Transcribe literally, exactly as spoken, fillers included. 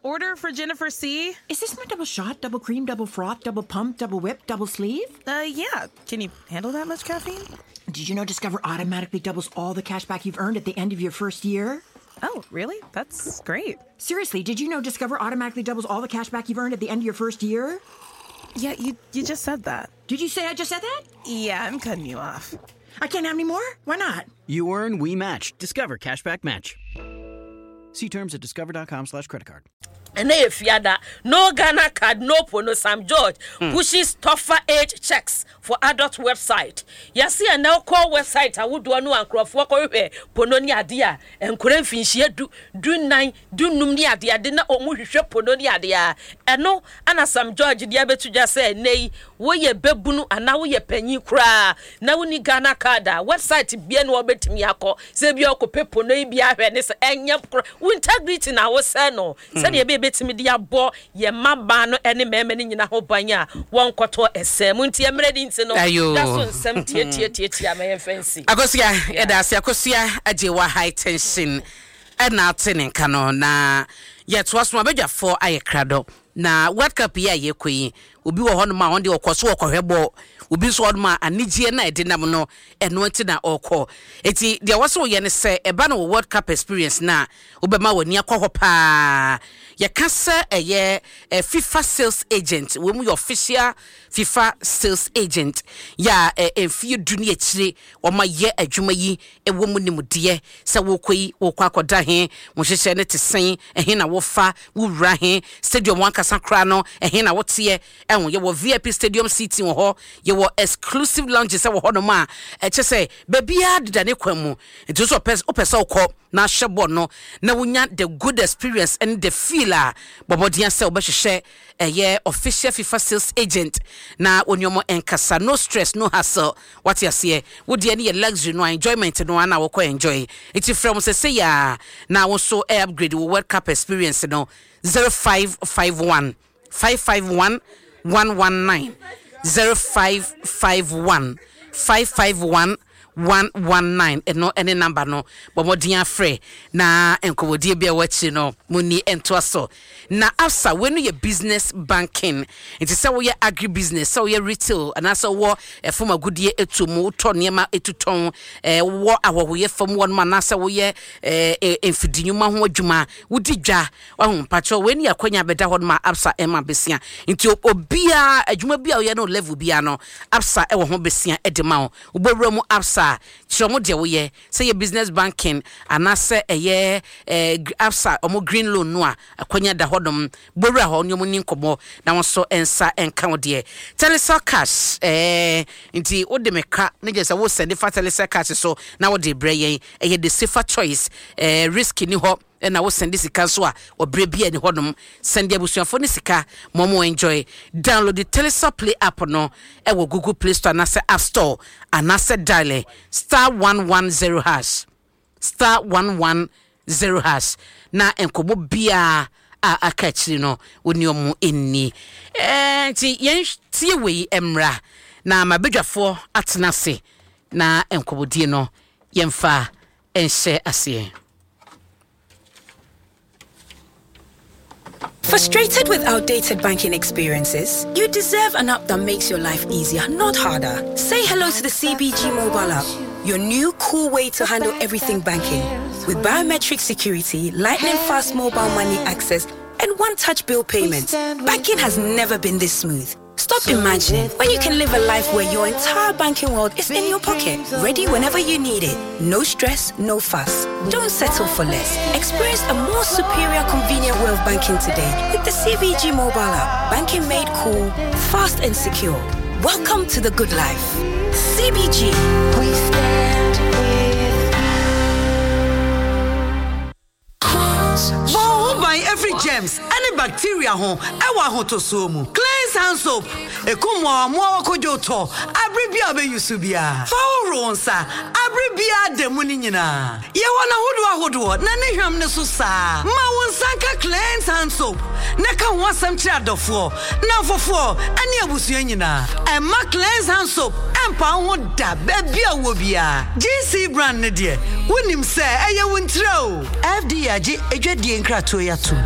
Order for Jennifer C. Is this my double shot, double cream, double froth, double pump, double whip, double sleeve? Uh, yeah. Can you handle that much caffeine? Did you know Discover automatically doubles all the cash back you've earned at the end of your first year? Oh, really? That's great. Seriously, did you know Discover automatically doubles all the cash back you've earned at the end of your first year? Yeah, you you just said that. Did you say I just said that? Yeah, I'm cutting you off. I can't have any more? Why not? You earn, we match. Discover Cashback Match. See terms at discover dot com slash credit card. Ɛnɛ yɛ Fiada. No Ghana Card, no porno. Sam George mm. pushes tougher age checks for adult website. Yɛsi ɛnɛ kɔ website ahodoɔ no a nkurɔfoɔ kɔhwehwɛ porno ne adeɛ a, nkora mfinhyia du, du nan, du num ne adeɛ ade na wɔn hwehwɛ porno ne adeɛ a, ɛno ana Sam George deɛ abɛto dwa sɛ ɛnɛ yi woyɛ bɛbunu anaa woyɛ panyin koraa na woni Ghana Card a, website bia na wɔbɛtumi akɔ sɛ bi ɔkɔpɛ porno yi bi ahwɛ ne sɛ ɛnyɛ korɔ wo integrity na wosɛ no, sɛdeɛ ɛbɛyɛ bɛtumi de abɔ yɛn mmabaa no ne mmarima no nyinaa ho ban a wɔnkɔtɔ ɛsɛn mu. Nti mmerɛ di nti no Ayo. Da so nsɛm tiatiatiatia ma yɛmfa nsi. Akosua, yɛda ase. Akosua agye wa high tension ɛna ate ne nka no na yɛtoa so. Abadwafoɔ ayɛ krado na World Cup yi a yɛkɔ yi, obi wɔ hɔnom a ɔno deɛ ɔkɔ so wɔkɔhwɛ bɔ, obi nso wɔ hɔnom a anigyeɛ na ɛde nam no ɛno nti na ɔrekɔ. Eti deɛ wɔsɛ wɔyɛ ne sɛ ɛba no wɔ World Cup experience na wobɛma w'ani akɔ hɔ paa. Yɛka sɛ ɛyɛ ɛ FIFA sales agent, wɔn mu yɛ official FIFA sales agent yɛ a ɛ mfie du ne akyire wɔn ayɛ adwuma yi ɛwɔ mu nimdeɛ sɛ wɔkɔ yi, wɔkɔ akɔda he, wɔn hyehyɛ ne te sɛn, ɛhe na wɔfa wowura he, stadium wɔn ankasa koraa no ɛhe na wɔteɛ. Ɛho yɛwɔ V I P stadium seating wɔ hɔ, yɛwɔ exclusive lounges ɛwɔ hɔnom a ɛkyɛ sɛ baabiara deda ne kwan mu. Nti nso ɔpɛ wopɛ sɛ wokɔ na ahyɛ bɔ no na wonya the good experience and the feel a, bɔmmɔden sɛ wobɛhyehyɛ ɛyɛ official FIFA sales agent na wɔne ɔmo nkasa. No stress, no hassle. Wate aseɛ? Wodeɛ no yɛ luxury no a, enjoyment no a na wɔkɔ enjoy. Nti frɛ mo sɛ sɛ yɛ a na wo nso ɛ upgrade wo World Cup experience no. zero five five one five five one one one nine, zero five five one five five one one one nine. Ɛno ɛne number no. Bɔ mmɔden afrɛ na nkɔmmɔdie bi a ɛwɔ akyiri no monni ntoa so. Na Absa wei no yɛ business banking, nti sɛ woyɛ agri business, sɛ woyɛ retail, anaasɛ wowɔ ɛfam agodie etu mu, wotɔ nneɛma etu tɔn, ɛɛ wowɔ ahɔhoyɛ fam wɔnom, anaasɛ woyɛ ɛɛ mfidi nnwuma ho adwuma, wodi dwa wahu mpakyɛw, wei ne yɛ akɔnya bɛda hɔ nom a Absa ɛma besia. Nti obiara adwuma bi a woyɛ no, level biara no, Absa ɛwɔ ho besia ɛde ma wo. Wobɛwura mu Absa a, kyerɛ mo deɛ woyɛ, sɛ yɛ business banking anaasɛ ɛyɛ ɛɛ Absa ɔmo green loan no a, akɔnya da hɔnom. Bɔwura hɔ ne ɔmo ni nkɔmmɔ na wɔn nso nsa nka wo deɛ. Telecel Cash, ɛɛ nti wode me ka ne gye sɛ wosɛnde fa Telecel Cash so na wode brɛ yɛn. Ɛyɛ the safer choice. ɛɛ risk ni hɔ, ɛna wosɛnde sika nso a, ɔbrɛ bi a ni hɔnom. Sɛnde abusuafoɔ ne sika ma ɔmo enjoy. Download the Telecel Play app no ɛwɔ Google Play Store anaasɛ App Store, anaasɛ dial star one one zero hash, star one one zero hash na nkɔmmɔ biara a aka akyiri no wo ne ɔmo nni. ɛɛ nti yɛn tie wei mmra na mabadwafoɔ atena ase na nkɔmmɔdie no yɛmfa nhyɛ aseɛ. Frustrated with outdated banking experiences? You deserve an app that makes your life easier, not harder. Say hello to the C B G mobile app, your new cool way to handle everything banking. With biometric security, lightning fast mobile money access, and one touch bill payments, banking has never been this smooth. Stop imagining when you can live a life where your entire banking world is in your pocket, ready whenever you need it. No stress, no fuss. Don't settle for less. Experience a more superior, convenient way of banking today with the C B G mobile app. Banking made cool, fast, and secure. Welcome to the good life. C B G. We stand with Bɔ wo ho ban every germs ɛne bacteria ho ɛwɔ ahotosoɔ mu. Cleanse hand soap ekum mmoawa kodwo tɔ abere bi a wobɛyi so biara. Fa hohoro wo nsa abere biara da mu no nyinaa. Yɛwɔ n'ahodoɔ ahodoɔ na ne hwam ne so saa. Ma wo nsa nka Cleanse hand soap na ka ho asɛm kyerɛ adɔfoɔ, namfofoɔ ɛne abusua nyinaa. Ɛma Cleanse hand soap ɛmpa wo ho da baabi a wɔ biara. G C brand ne deɛ wonim sɛ ɛyɛ wo ntira o. F D A agye adwadie nkratoɔ yi atom.